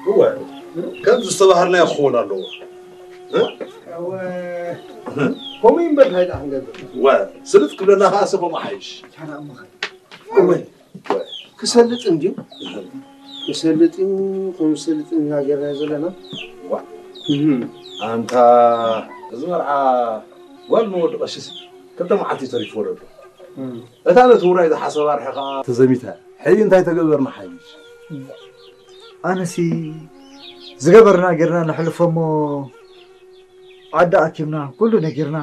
እወ፣ ከምዚ ዝተባህልናዮ ክኸውን ኣለዎ። እ? እወ፣ ከምኡ እዩ እምበር እንታይ ደኣ ክንገብር? እወ፣ ስልጥ ክብለና ከኣ ሲ ከምኡ ሓይሽ። ታዲያ እሞ ኸ? እወ፣ ክሰልጥ እንድዩ። ክሰልጥ እዩ፣ ከም ዝሰልጥ ኢና ጌርናዮ ዘለና። ዋ። እህ። ኣንታ፣ እዚ መርዓ ጓል ንወዲ ቀሺስ ክልተ መዓልቲ ተሪፍዎ ኣሎ። እም። እታ ነቲ ውራይ ዝሓሰባ ርሒቓ ተዘሚታ። ሕጂ እንታይ ተገበርና ሓይሽ? ኣነሲ ዝገበርና ጌርና ነሕልፎ እሞ፣ ዓዲ ኣኪብና፣ ኩሉ ነጊርና፣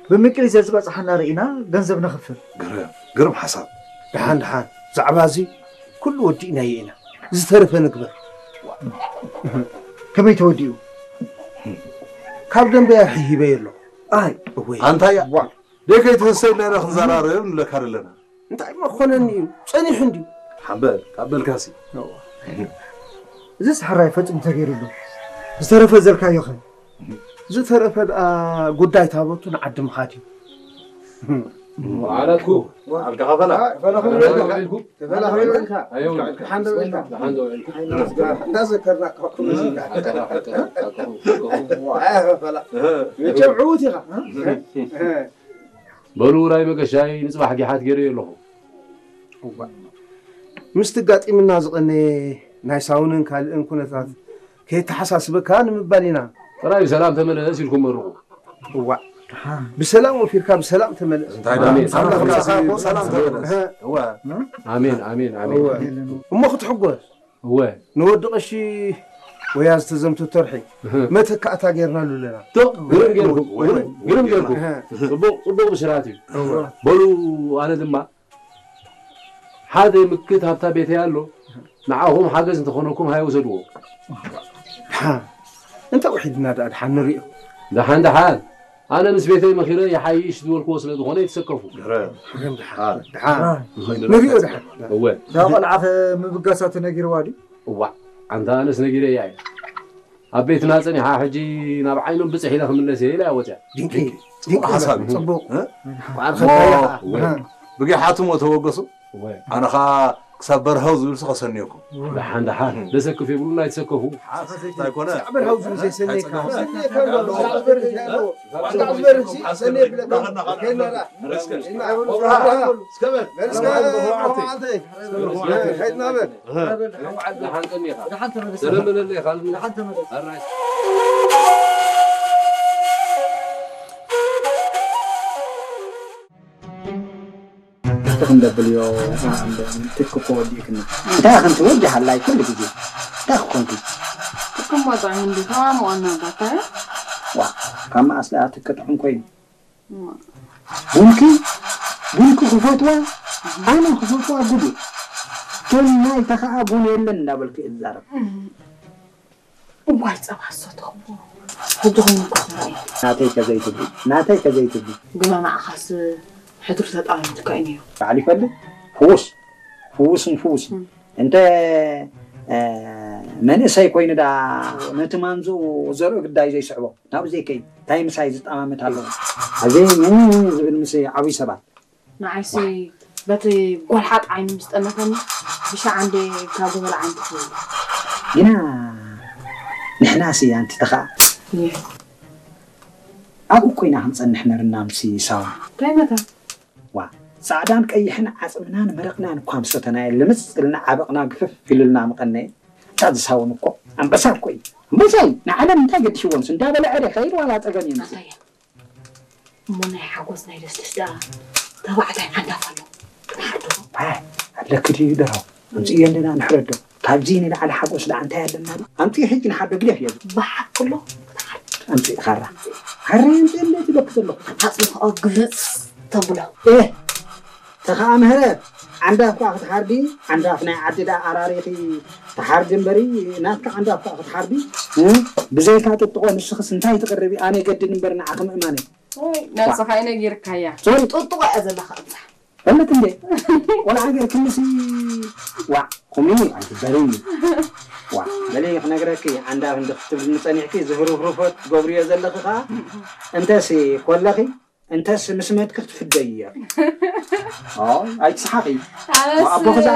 ብምቅሊ ዘዝበጽሓና ርኢና ገንዘብ ነኽፍል። ግርም፣ ግርም ሓሳብ። ደሓን፣ ደሓን። ዛዕባ እዚ ኩሉ ወዲእናዮ ኢና። ዝተረፈ ንግበር። ከመይ ተወዲኡ? ካብ ደንበያ ሂበዮ ኣለኹ። ኣይ፣ እወይ። ኣንታያ፣ ዋ። ደይ ከይትህሰ ኢልና ኢና ክንዘራረብ ንብለካ ዘለና። እንታይ እሞ ክኾነኒ እዩ? ጸኒሑ እንድዩ። ሓምበል፣ ካብ በልካሲ። እዋ። እዚስ ሕራይ ፈጺሙ ተገይሩሉ። ዝተረፈ ዘልካዮ ኸ? ዝተረፈ ደኣ ጉዳይ ታቦቱ ንዓዲ ምኻድ እዩ። ማለት እኮ፣ ኣልካ ኸፈላ። ኣይ፣ ፈላ ኸፈላ። ፈላ ኸፈላ። ፈላ ኸፈላ። ኣዮ። ደሓን ዶ ኢልካ? ደሓን ዶ ኢልካ? እንዳዘከርናካ እኮ። እህ። ኣልካ ኸፈላ። ኣልካ ኸፈላ። ዋ፣ ኣይ፣ ኸፈላ። እህ። መቸም ዕዉት ኢኻ። እህ። እህ። በሉ፣ ውራይ መገሻይ ንጽባሕ ጊሓት ገይረዮ ኣለኹ። እዋ። ምስቲ ኣጋጢምና ዝቐነየ ናይ ሳውንን ካልእን ኩነታት ከየተሓሳስበካ ንምባል ኢና። ጥራይ ብሰላም ተመለስ ኢልኩም መርቑ። እዋ። ብሰላም ወፊርካ ብሰላም ተመለስ። እንታይ ደኣ? ኣሜን። ኣምላኽ ኣምላኽ ምሳኻ ይኹን። ብሰላም ተመለስ። እህ። እዋ። ኣሜን፣ ኣሜን፣ ኣሜን። እዋ። እሞ ክትሕጎስ። እወ። ንወዲ ቀሺ ወያ ዝተዘምቱ ተርሒ እህ። መተካእታ ጌርናሉ ኣለና። ዶ፣ ግርም ጌርኩም፣ እወ። ግርም፣ ግርም ጌርኩም። እህ። ጽቡቕ፣ ጽቡቕ ብስራት እዩ። እወ። በሉ፣ ኣነ ድማ ሓደ ምክት ሃብታ ቤተይ ኣሎ፣ ንዓኹም ሓገዝ እንተኾነኩም ሃይ ውሰድዎ። ደሓን፣ እንተ ውሒድና ደኣ ደሓን ንሪኦ። ደሓን፣ ደሓን። ኣነ ምስ ቤተይ መኺረ ይሓይሽ ዝበልክዎ ስለ ዝኾነ ይትሰከፉ። ግርም። ግርም፣ ደሓን። ደሓን። ንሪኦ ደሓን። እወ። እዛ ቆልዓ ኸ ምብጋሳ ተነጊርዋ ድዩ? እዋእ፣ ኣንታ ኣነስ ነጊረያ እየ። ኣብ ቤትና ጸኒሓ ሕጂ ናብ ዓይኖም ብጽሕ ኢለ ክምለስ እየ ኢላ እያ ወጽያ። ድንቂ፣ ድንቂ ጽቡቕ ሓሳብ እዩ። ጽቡቕ። እ? በዓል እሞ፣ ኸልካያ ኸኣ። እወ። እህ። ብጊሓቱ እሞ ተወገሱ። እወ። ኣነ ኸኣ ክሳብ በርሀው ዝብል ሲ ከሰንየኩም። ደሓን፣ ደሓን። ደሰክፍ የብሉን ኣይትሰከፉ። ሓስ እንታይ ኮነ? ክሳብ በርሀው ዝብል ዘይሰነየካ። ኣይጸገም። ሰነየካ ኣሎ። ክሳብ በርሀው ዝብል ዘይሰነየካ። ደሓን ቀኒኻ። ደሓን ተመለስ። ሰላም በለለይ ካልእ። ደሓን ተመለስ። ኣራይ። እቲ ክንደብልዮ፣ እ፣ ትክ እኮ ወዲእክኒ። እንታይ ኢኽን ትወዲ ሃላይ ኩሉ ግዜ? እንታይ ክኾንኪ? ትክም ወጣ እንዲ ተማም ዋና ባታያ? ዋ፣ ካብ መኣስ ደኣ ትክ ጥዑም ኮይኑ? ቡንኪ? ቡንኪ ክፈትዋ? ኣነ ክፈትዋ ጉድ እዩ። ቶም ናይ ተኸኣ ቡን የለን እንዳበልኪ እዛረብ። እዋይ ጸባ ዝሰተኹዎ። ሕጂ ኾይኑ እኮ ተራእዩ። ናተይ ከዘይትብሊ፣ ናተይ ከዘይትብሊ። ግና ንዓኻስ ሕድሪ ተጣሚትካ እዩ ነይሩ። ባዕሉ ይፈልጥ። ፍውስ፣ ፍውስን ፍውስን። እም። እንተ፣ እ፣ መንእሰይ ኮይኑ ደኣ ነቲ ማንዝኡ ዘርኢ ግዳይ ዘይስዕቦ። ናብኡ ዘይከይድ። እንታይ ምሳይ ዝጠማመት ኣለዎ? ኣዘይ ምን ዝብል ምስ ዓብዪ ሰባት። ንዓይሲ በቲ ጓልሓጥ ዓይኑ ምስ ጠመተኒ፣ ብሻዕ እንዴ ካብ ዝበልዓ እንትትብል። ግና ንሕናሲ ኣንቲ ተኸኣ እየ። ኣብኡ እኮ ኢና ክንጸንሕ ነርና ምስ ሳዋ። እንታይ መታ? ዋ፣ ጻዕዳን ቀይሕን ዓጽምናን መረቕናን እኳ ምስ ሰተናዮ ልምጽ ኢልና ዓበቕና ግፍፍ ኢሉልና ምቐነየ። እታ ዝሳውን እኮ ኣንበሳ እኮ እዩ። ኣንበሳ እዩ። ንዓለም እንታይ ገዲሽዎምስ እንዳበልዐ ዶ ይኸይድ ዋላ ጸገም የምጽእ? ኣታያ። እሞ ናይ ሓጎስ ናይ ደስደስ ደኣ ተባዕታይ ዓንዳፍ ኣሎ። ክንሓርዶ? ኣይ፣ ኣለኪ ድዩ ደራው? ኣምጽእዮ ኣለና ንሕረዶ። ካብዚ ንላዕሊ ሓጎስ ደኣ እንታይ ኣለና? ኣምጽእ ሕጂ ንሓዶ ግደፍ እየ። ብሓቂ ኣሎ? ኣምጽእ ኻራ። ሓረ ኣምጽእ ኣለቲ በክ ዘለኹ። ኣጽንኦ ግልጽ ተብሎ። ኤህ! ተኸኣ ምህረት፣ ዓንዳፍ ከኣ ክትሓርዲ፣ ዓንዳፍ ናይ ዓዲ ደኣ ኣራሪኺ ትሓርዲ እምበሪ፣ ናትካ ዓንዳፍ ከኣ ክትሓርዲ፣ እ? ብዘይካ ጥጥቖ ንስኽስ እንታይ ትቕርቢ? ኣነ የገድድ እምበር ንዓኺ ምእማነይ። ወይ፣ ነብስኻ እዩ ነጊርካያ። ሶሪ። ጥጥቖ እያ ዘለኻ ኣብዛ። ፈለጥ እንዴ? ቆልዓ ጌርክንሲ፣ ዋዕ፣ ቁሚ፣ ኣይትበሪ። ዋዕ፣ በሊ ክነግረኪ፣ ዓንዳፍ እንዲ ክትብልኒ ጸኒሕኪ፣ ዝህሩፍሩፎት ትገብርዮ ዘለኺ ኸኣ፣ እንተሲ ኮለኺ፣ እንተስ ምስ መትኪ ክትፍደይ እያ። ኣይ፣ ኣይትስሓቂ። ኣነስ ኣቦኺ ዝኣክል